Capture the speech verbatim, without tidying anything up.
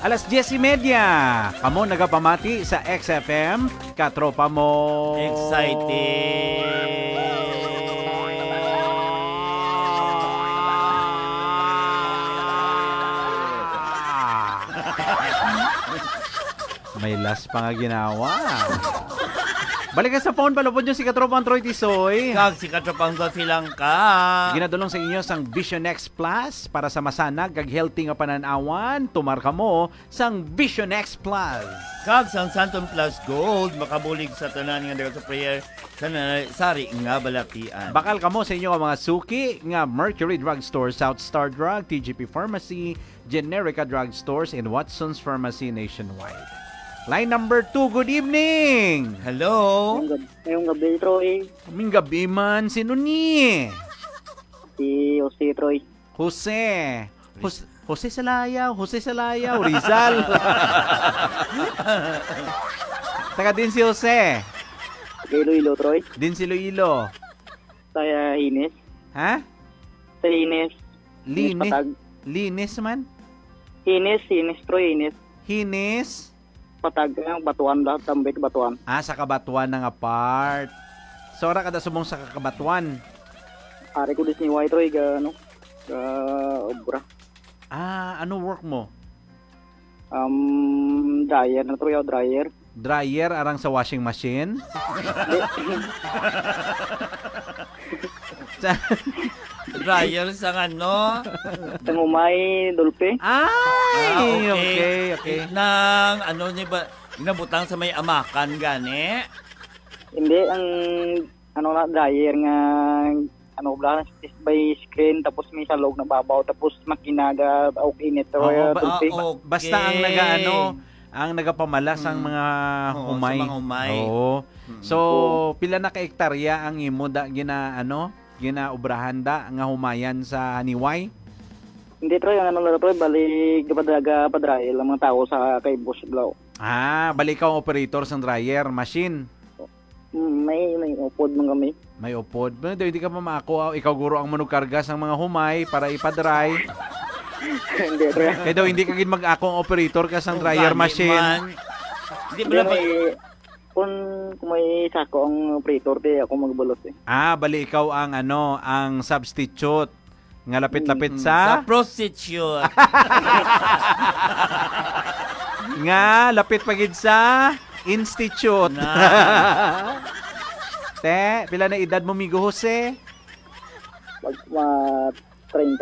Alas diyes y media, kamo nagapamati sa X F M, katropa mo. Exciting. May last pa nga ginawa. Balik ka sa phone, palupod nyo si Katropang Troy Tisoy. Kag si Katropang Dolphy lang ka. Ginadulong sa inyo sang Vision X Plus para sa masanag kag healthy nga panan-awan. Tumar kamo sang Vision X Plus. Kag sang Santon Plus Gold, makabulig sa tanan nga dagat sa prayer sa na-, sari nga balatian. Bakal kamo sa inyo nga mga suki nga Mercury Drugstore, South Star Drug, T G P Pharmacy, Generica Drugstores, and Watson's Pharmacy nationwide. Line number two, good evening! Hello? Ngayong gab-, ngayong gabi, Troy. Kaming gabi man, sino ni? Si Jose, Troy. Jose. Jose, Jose Salayaw, Jose Salayaw, Rizal. Taga din si Jose. Taga Iloilo, Troy. Din si Iloilo. Sa, uh, Hines. Ha? Sa Hines. Hines Linis? Patag. Linis man? Hines, Hines, Troy, Hines. Hines? Patag, eh, Batuan, lahat tambay Batuan. Ah, sa Kabatuan na nga part. So, ara kada subong sa Kabatuan? Ari ko Disney White, Troy, ga, ano, ga obra. Ah, ano work mo? Um, dryer na, Troy, oh, dryer. Dryer, arang sa washing machine? Sa Dryer sa ano? Sang humay, Dolphy. Ay, Ah, okay. okay, okay. Nang ano ni ba, nabutang sa may amakan gani? Hindi, ang ano na, dryer nga, ano, bla, is by screen, tapos may salog na babaw, tapos makina ga, og init, Oo, Troy, ba, Dolphy. ah, okay. Basta ang nagaano, ang nagapamala sang Mm. mga Oo, sa humay. mga humay. Oo. Mm. So, Oo. pila na ka ektarya ang imo da, gina, ano, ginaobrahan da nga humayan sa haniway? Hindi, Troy, ang ano na, Troy, bali, gapad-, gapadrayel ang mga tao sa kay Boss Blau. Ah, bali ikaw ang operator sang dryer machine? Mm, may, may upod man kami. May upod. Pero daw hindi ka pa maako, ah, ikaw guro ang manugkarga sang mga humay para ipadry. Hindi, Troy. Kaya daw hindi ka gid mag-ako ang operator ka sang dryer Gani machine. man. Di ba Hindi, na may, kung, kung may sako ang operator, di ako magbulos eh. Ah, bali ikaw ang ano, ang substitute nga lapit-lapit Mm, sa sa prostitute. Nga lapit pa gid sa institute. Na. Te, pila na edad mo, Migo Jose? Mag-, ma-, treinta,